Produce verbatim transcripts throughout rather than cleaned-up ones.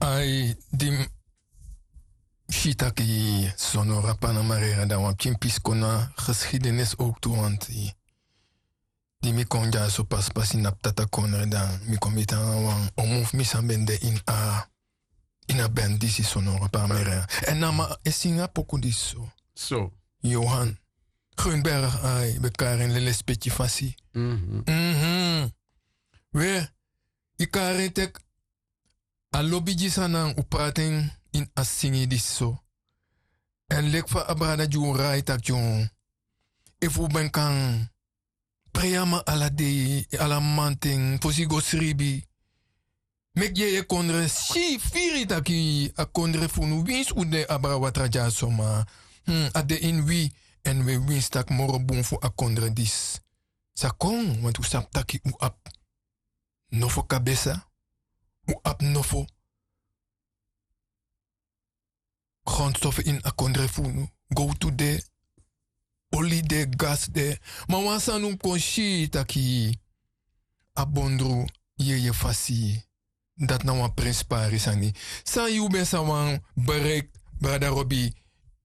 Ai, di mi si taki Sonora Panamera, dan wan pikin pisi kon na geschiedenis ook tu, want di mi kon dyaso paspasi na Ptata Kondre, dan mi kon miti nanga wan omu fu mi san ben de ini a, ini a band disi Sonora Panamera. Èn na mi e singi a poku disi so. So. Johan Grunberg, ai, ben kari en lespeki fasi. Mhm. We, i kari en teki a lobi gi san nanga un prati en ini a singi disi so. Èn leki fa a brada gi un rai taki, efu un ben kan prei a man ala dei, ala mamanten, fosi i go sribi. Meki yeye kondre si firi taki a kondre fu unu, winsi un de abra watra dyaso, ma, hmm, a de ini wi, èn un e winsi taki moro bun fu a kondre disi sa kon, want un sabi taki un abi nofo kabesa, un abi nofo grondstof ini a kondre fu unu. Gowtu de, oli de, gas de. Ma wan sani un kon si taki a bondru yeye fasi. Dati na wan prenspari sani. San yu ben sa wani bereiki, brada Robi,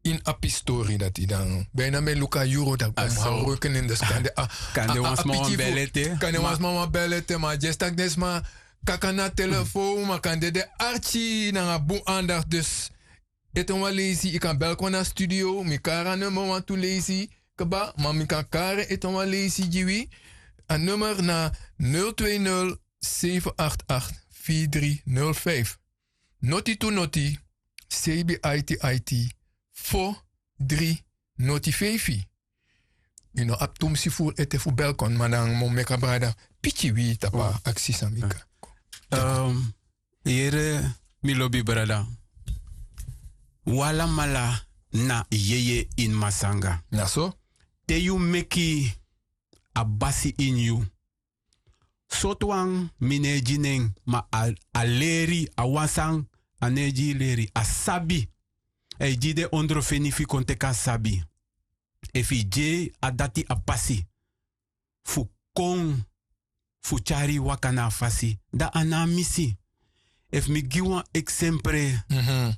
ini a pisi tori dati dan? Ben na mi e luku a yuru dati. A so. Kande wan sma wan bel ete. Kande wan sma wan bel ete, ma a dyesi taki den sma kaka na telefon, ma kande den arki nanga bun andacht. Dus ete wan leisi, i kan bel kon na studio, mi kari a nummer wantu leisi kaba, ma mi kan kari ete wan leisi gi wi. A nummer na nul twee nul, zeven acht acht, vier drie nul vijf. Noti tu noti, seibi aiti aiti, fo dri noti feifi. Yu no abi tumsi furu ete fu bel kon, ma dan mi o meki a brada piki wi tapu a aksi san mi kan. Ehm, yere, mi lobi brada. Un alamala na yeye ini Masanga. Na so. Te yu meki a basi ini yu, sortu wan mi no e gi nen, ma a, a leri, a wan san a no e gi yu leri, a sabi. A e gi den ondrofeni fu yu kon teki a sabi. Efu yu gi en a dati a pasi fu kon, fu tyari yu waka na a fasi, dan a no a misi. Efu mi gi wan eksempre, mhm.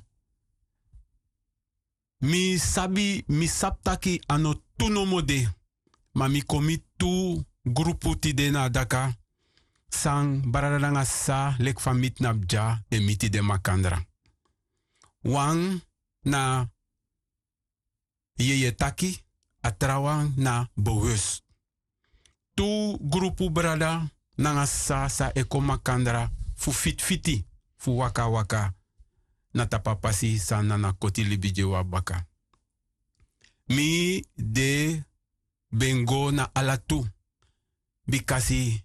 Mi sabi, mi sabi taki a no tu nomo de, ma mi kon miti tu grupu tide na a daka, san brada nanga sisa leki fa mi tnapu dya e miti den makandra. Wan na yeye taki, a trawan na bewust. Tu grupu brada nanga sisa san e kon makandra fu fitfiti, fu wakawaka na tapu a pasi san na na koti libi gi wi a baka. Mi de ben go na ala tu, bikasi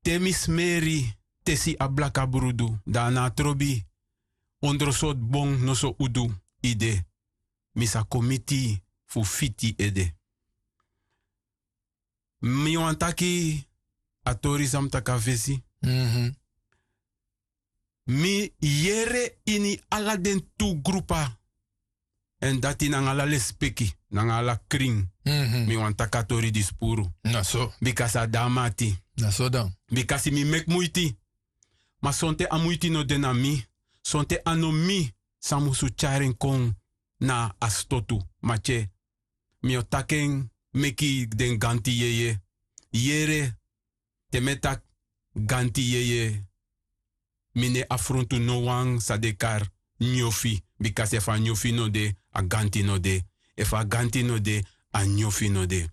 te mi smeri tesi a blaka brudu, dan a no a trobi ondro sortu bon noso udu ede, mi sa kon miti fu fiti ede. Mi wani taki a tori san mi taki a fesi. Mhm. Mi yere ini ala den tu grupu. Èn dati nanga ala lespeki, nanga ala krin. Mhm. Mi wani taki a tori disi puru. Na so. Bikasi a de na mi ati. Na so dan. Bikasi mi meki muiti. Ma sonten a muiti no de na mi. Sonten a no mi san musu tyari en kon na a stotu. Ma tye, mi o taki en meki den ganti yeye. Yere, te mi e taki ganti yeye, mi no e afrontu no wan san den kari nyofi. Bikasi efu a nyofi no de, a ganti no de. Efu a ganti no de, a nyofi no de.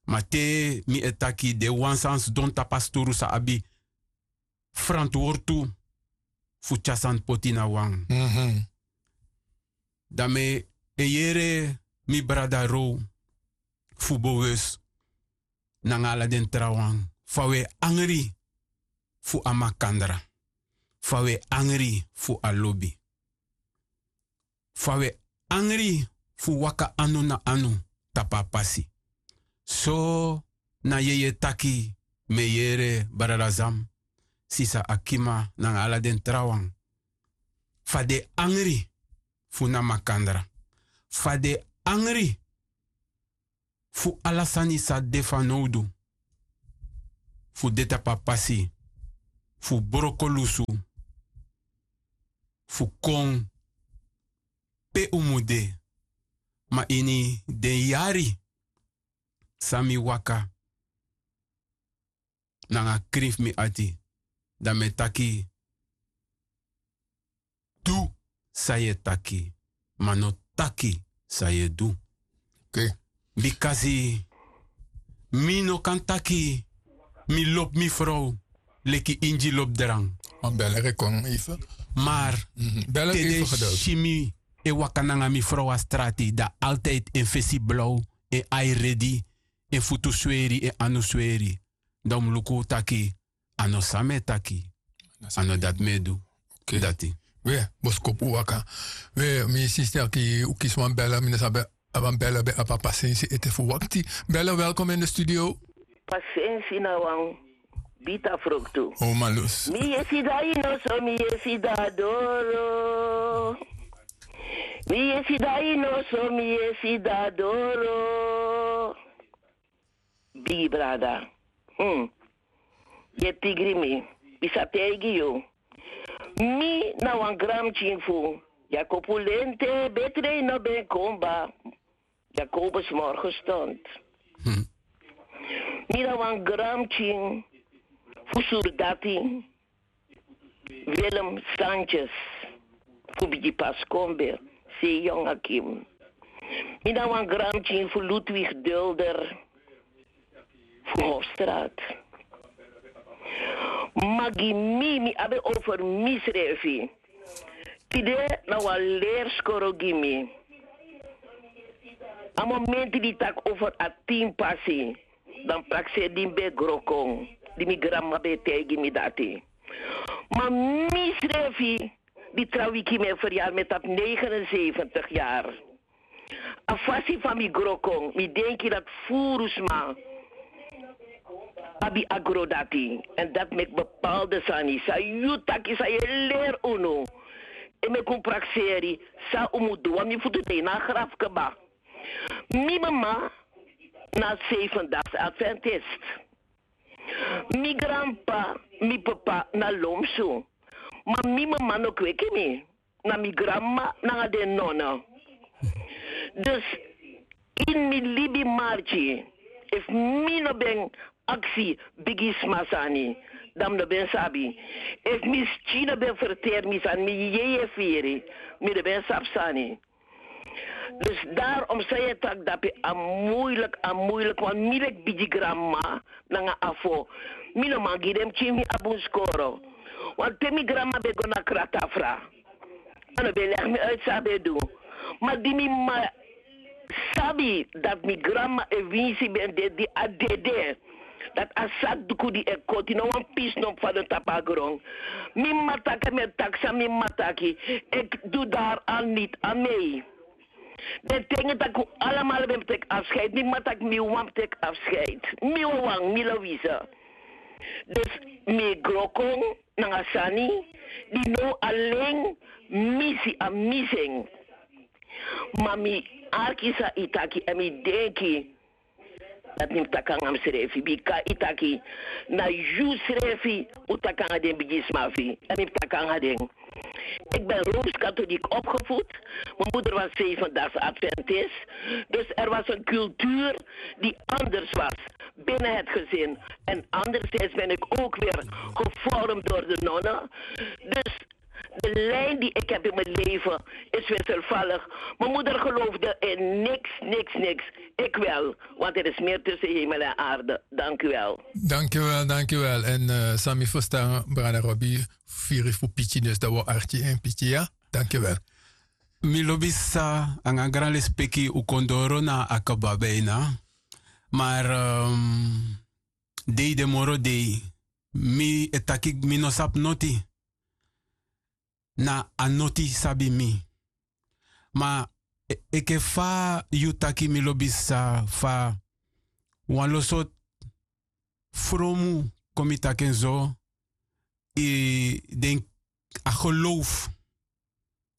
Ma te mi e taki den wan san sidon tapu a sturu san abi frantwortu fu tyari sani poti na wan. Mhm. Dan mi e yere mi brada Row fu bewust nanga ala den trawan, fa wi e angri fu a makandra, fa wi e angri fu a lobi, fa wi e angri fu waka anu na anu tapu a pasi. So na yeye taki, mi e yere brada Zam, sisa Akima nanga ala den trawan, fa den e angri fu na makandra, fa den e angri fu ala sani san de fanowdu fu de tapu a pasi, fu broko lusu, fu kon pe un mus de. Ma ini den yari san mi waka nanga krin fu mi ati, dan mi e taki: du san yu e taki, ma no taki san yu e du. Bikasi mi no kan taki mi lobi mi frow leki ingi lobi dran. Mar te den si mi e waka nanga mi frow na strati, dan altijdi en fesi blaw, en ai redi, en futu sweri, en anu sweri, dan un mus luku taki a no san mi e taki, a no dati mi e du. Dati. We, boskopu waka. We, mi sister, ki un kisi wan bèlè, mi no sabi a wan bèlè ben abi a pasensi ete fu wakti. Bèlè, welkom in de studio. Pasensi na wan bita fruktu. O malus. Mi yesi dai no so, mi yesi da doro. Mi yesi dai no so, mi yesi da doro. Bigi brada. Hmm. Yu e pigri mi. Mi sa taigi yu. Mi na wan granpikin fu Yakobu Lente, Betrei no ben kon kaba. Yakobus Morgenstund. Mi na wan granpikin fu surdati Willem Sanchez fu Bigi Paskombe, Seyong Akim. Mi na wan granpikin fu Ludwig Dulder fu Hofstraat. Ma gi mi, mi abi over misrefi. Tide na wan leri skoro gi mi. A momenti di taki over a tin pasi, dan prakseri di mi ben gro kon, di mi granmama ben e taigi mi dati. Ma misrefi, di tra wiki mi e feryari, mi e tapu negenenzeventig yari. A fasi fa mi gro kon, mi denki dati furu sma abi a gro dati. Èn dati meki bepaalde sani san yu taki, san yu e leri unu, e meki un prakseri san un mus du. Wan mi futu de na a grafu kaba. Mi mama na Zevendaags Adventist. Mi granp'pa, mi p'pa na lomsu. Ma mi mama no kweki mi. Na mi granmama nanga den nono. Dus ini mi libi marki, efu mi no ben aksi bigisma sani, dan mi no ben sabi. Efu mi skin no ben ferteri mi sani, mi yeye firi, mi no ben sabi sani. Dus daarom san yu e taki dape, a muilik, a muilik, want mi leki bigi granmama nanga afo, mi no man gi den pikin fu mi a bun skoro. Want te mi granmama ben go na kratafra, a no ben legi mi uit san a ben du. Ma di mi mama sabi dati mi granmama e winsi ben de, di a dede, dati a sakduku di e koti, no wan pisi no mus fadon tapu a gron. Mi mama taki, mi e taki san mi mama taki, ik doe daar al niet aan mee. Den ten taki un alamala ben mus teki afscheid, mi mama taki mi wawan mus teki afscheid. Mi wawan, mi Louise. Dus mi gro kon nanga sani di now alen mi si, a mi si en. Ma mi arki san yu taki èn mi denki dati mi mus taki nanga misrefi, bika yu taki na yu srefi un taki nanga den bigisma fu yu, èn mi mus taki nanga den. Ik ben rooms-katholiek opgevoed. Mijn moeder was Zevendaags Adventist. Dus er was een cultuur die anders was binnen het gezin. En anderzijds ben ik ook weer gevormd door de nonnen. Dus de lijn die ik heb in mijn leven is wisselvallig. Mijn moeder geloofde in niks, niks, niks. Ik wel, want er is meer tussen hemel en aarde. Dank u wel. Dank u wel, dank u wel. En eh, san mi ferstan, brada Robi, firi fu piki, dus dan wi o arki en piki, ya. Dank u wel. Mi lobi sa nanga gran lespeki, un kon doro na a kaba bijna. Maar ehm, dei de moro dei, mi e taki mi no sabi noti. Na a noti sabi mi. Ma e- enke fa yu taki, mi lobi sa, fa wan lo sortu fromu, kon mi taki en so, i den a geloof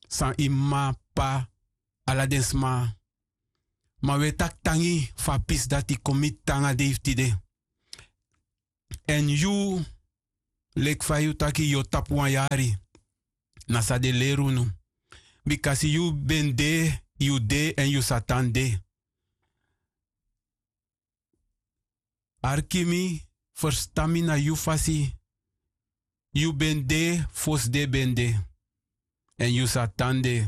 san i mama, p'pa, ala den sma. Ma wi e taki tangi fu a pisi dati kon miti nanga dei fu tide. Èn yu, leki fa yu taki yu o tapu wan yari, Na san den leri unu. Bikasi yu ben de, yu de èn yu sa tan de. Arki mi, ferstan mi na yu fasi. Yu ben de fosi den ben de, èn yu sa tan de.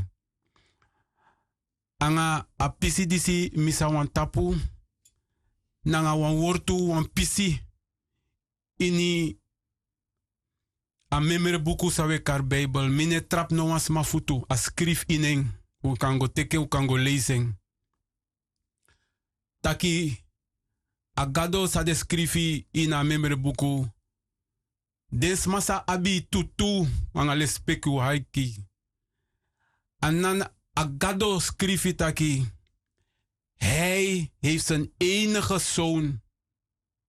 Anga a pisi disi mi sa wani tapu nanga wan wortu, wan pisi ini a memre buku san wi e kari Bijbel. Mi no e trapu no wan sma futu, a skrifi ini en. Un kan go teki en, un kan go leisi en. Taki a Gado san den skrifi ini a memre buku, den sma san abi tutu anga lespeki, un haiki. A nan a Gado skrifi taki: Hij heeft zijn enige zoon,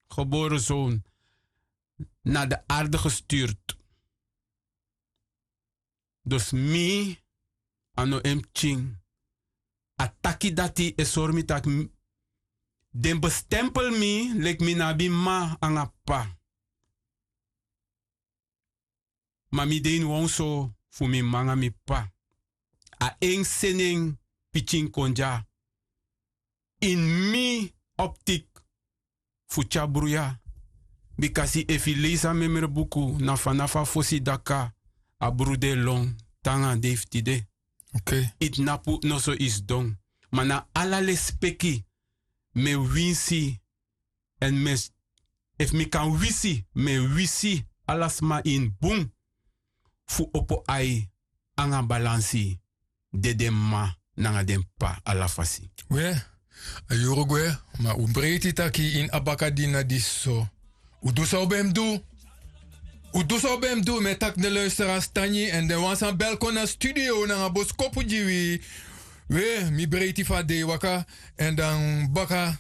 geboren zoon, naar de aarde gestuurd. Dus mi a no en pikin. A taki dati e sori mi taki m-, den bestempel mi leki mi no abi mma anga p'pa. Ma mi de ini wan oso fu mi mma anga mi p'pa. A en seni en pikin kon dya. Ini mi optik fu tyari bruya. Bikasi efu yu leisi a memre buku, na fanafu a fosi daka a bru de lon te nanga a dei fu tide. Yu tnapu noso yu sidon. Ma na ala lespeki mi e winsi. Èn mi e, efu mi kan wisi, mi e wisi ala sma ini bun fu opo ai anga balansi de den mma nanga den p'pa ala fasi. We, a yuru gwe, ma un breiti taki ini a bakadina disi so. Un du san un ben mus du. Un du san un ben mus du, mi e taki den luisteraars tangi èn den wan san bel kon na studio nanga boskopu gi wi. We, mi breiti fu a dei waka, èn dan baka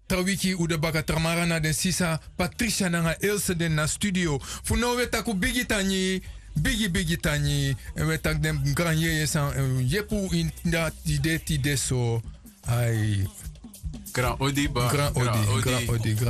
tra wiki un de baka tra mara na den sisa Patricia nanga Else den na studio. Fu now wi e taki un bigi tangi, bigi bigi tangi. Èn wi e taki den gran yeye san, eh, yepi un ini a tide tide so. Ai. Gran odi, ba. Gran odi, gran odi, gran